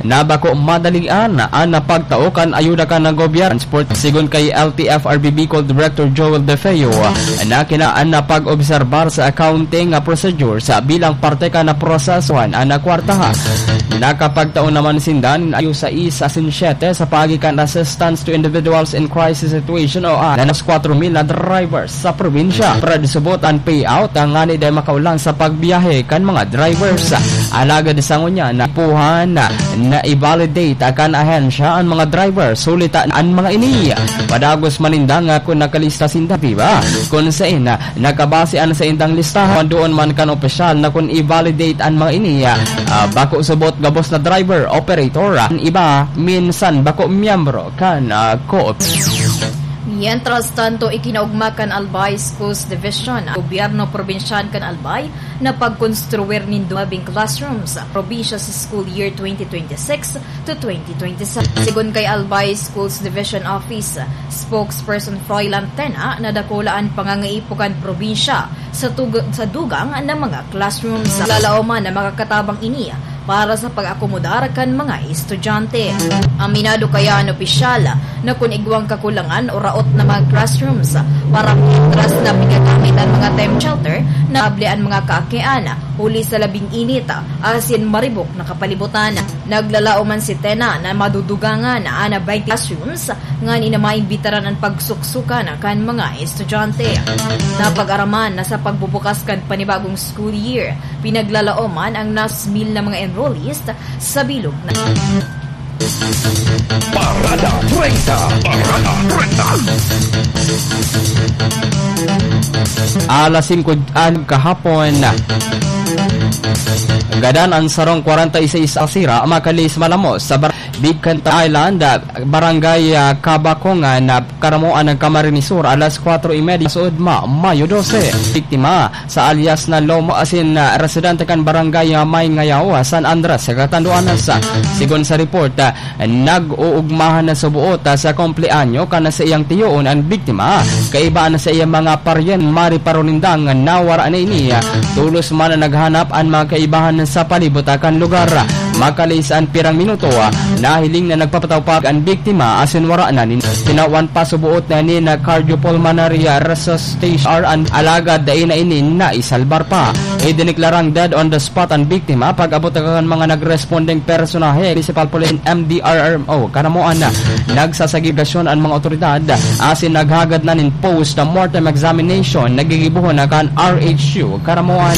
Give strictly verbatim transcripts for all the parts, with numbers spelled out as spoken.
na bako madalian an pagtao kan ayuda kan gobyerno. Transport, sigon kay L T F R B Bicol Director Joel De Feo, na kinaan na pag-obserbar sa accounting procedures bilang parte kan prosesohan an kwarta. Nakapagtao naman sinda nin ayo sais asin siyete sa paagi kan assistance to individuals in crisis situation o a, na nas kwatro mil na drivers sa probinsya. Pero subot an payout ngani dai makaolan sa pagbiyahe kan mga drivers. Alagad sa ngunyan, napuhan na i-validate kan ahensya an mga drivers. Huli ta an mga ini, padagos man ninda nga kun nakalista sinda, di ba? Kun sain, nakabase an saindang listahan, doon man kan opisyal na kun i-validate an mga ini, ah, bako subot gabos na driver, operator, an iba minsan bako miyembro kan, ah, co-op. Mientras tanto, ikinaugma kan Albay Schools Division ang gobyerno probinsyal kan Albay na pagkonstruir nin duwabing classroom sa probinsya sa school year twenty twenty-six to twenty twenty-seven. Sigon kay Albay Schools Division Office Spokesperson Froilan Tena, na dakula an pangangaipo kan probinsya sa tug-, sa dugang na mga classrooms. Lalaoman na makakatabang ini para sa pag-akomodar kan mga estudyante. Aminado kaya an opisyal na kun igwang kakulangan o raot na mga classrooms para mientras na pinagamit an mga temp shelter na able an mga kaakian huli sa labing init asin maribok na kapalibutan. Naglalaom man si Tena na madudugangan an twenty classrooms ngani na maimbitaran an pagsuksukan kan mga estudyante. Napag-araman na sa pagbubukas kan panibagong school year, pinaglalaoman ang nas mil na mga enrollees sa bilog na Parada treinta. Parada treinta. Alas singko kahapon, gadan an sarong kwarenta y seis a sira, makalis malamos sa bar-, Big Canta Island, Barangay, ah, Kabakongan, ah, Karamoan ng Camarines Sur, alas kwatro y media sa Udma, Mayo dose. Biktima sa alias na Lomo asin, ah, residente kan Barangay, ah, Mayngayaw, ah, San Andres, Catanduanes. Sigon sa report, ah, nag-uugmahan na subuot, ah, sa kumpleanyo kan saiyang tiyoon an biktima. Kaiba na sa iyang mga paryente, mariparo nindang nawara na ini. Tolos man na naghanap an mga kaibahan sa palibot, ah, kan lugar. Makalis an pirang minuto, nahiling na nagpapataw pa an biktima asin wara na nin-, tinawan pa subuot na nin cardiopulmonary resuscitation an alagad dai na ini naisalbar pa. Idiniklarang dead on the spot an biktima pag-abot kan mga nagrespondeng personahe, Municipal Police and M D R R M O. Kanamoan na nagsasagip an mga otoridad asin naghagad na nin post-mortem examination na gigibohon na kan R H U Karamoan.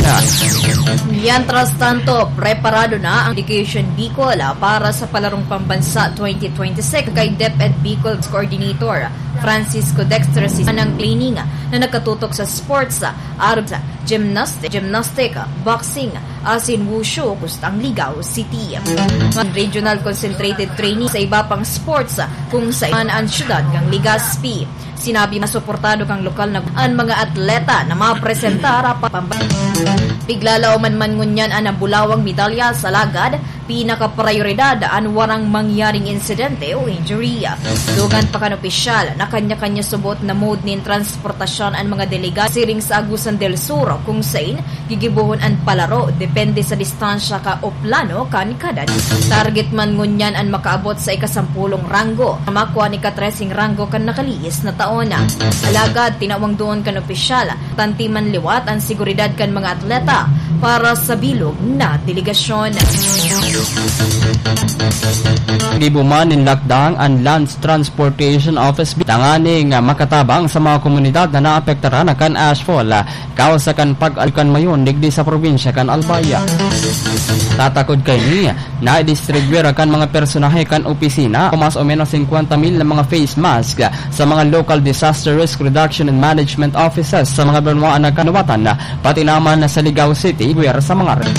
Mientras tanto, preparado na ang Education Bicol, ah, para sa Palarong Pambansa twenty twenty-six kay DepEd Bicol Coordinator Francisco Dexter Sisana ang training na nakatutok sa sports, ah, arog sa gymnastic, gymnastic, boxing, asin wushu, kustang Ligao City. Ang regional concentrated training sa iba pang sports, kung saan ang siyudad ng Legazpi. Sinabi na suportado kang lokal na an mga atleta na mapresentar pa pamba-, piglalaoman man ngunyan an nabulawang medalya sa lagad, pinakaprayoridad an warang mangyaring insidente o injury. Dugang pa kan opisyal na kanya-kanya subot na mode nin transportasyon an mga delegado siring sa Agusan del Sur, kung sain gigibohon an palaro depende sa distansya ka o plano kan kada. Target man ngunyan an makaabot sa ikasampolong ranggo, na makua an ikatreseng ranggo kan nakalihis na taon. Alagad tinawang duon kan opisyal, tanti man liwat an seguridad kan mga atleta para sa bilog na delegasyon. Gibo man nin lakdang an Lands Transportation Office tanganing makatabang sa mga komunidad na naapektaran kan ashfall. Kausa kan pag-alkan mayon digdi sa probinsya kan Albay. Tatakod kaini, naidistribuir kan mga personahe kan opisina o mas o menos singkwenta mil na mga face mask sa mga local disaster risk reduction and management offices sa mga banwaan na kanuwatan, pati naman sa Ligao City, guwer sa mga re-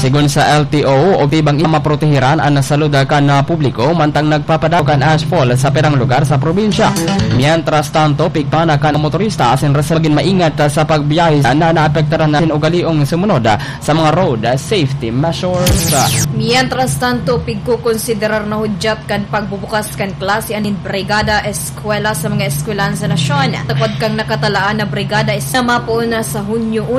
Sigon sa L T O, obtibang maprotehiran an salud kan, ah, publiko, mantang nagpapadako kan ashfall sa pirang lugar sa probinsya. Mientras tanto, pigpana kan motorista asin residente magin maingat sa pagbiyahe na naapektaran na ugaliong sumunod sa mga road safety measures. Mientras tanto, pigkukonsiderar na hudyat kan pagbubukas kan klase an Brigada Eskwela sa mga eskwelahan sa nasyon. Takod kang nakatalaan na Brigada Eskwela na mapoon na sa Hunyo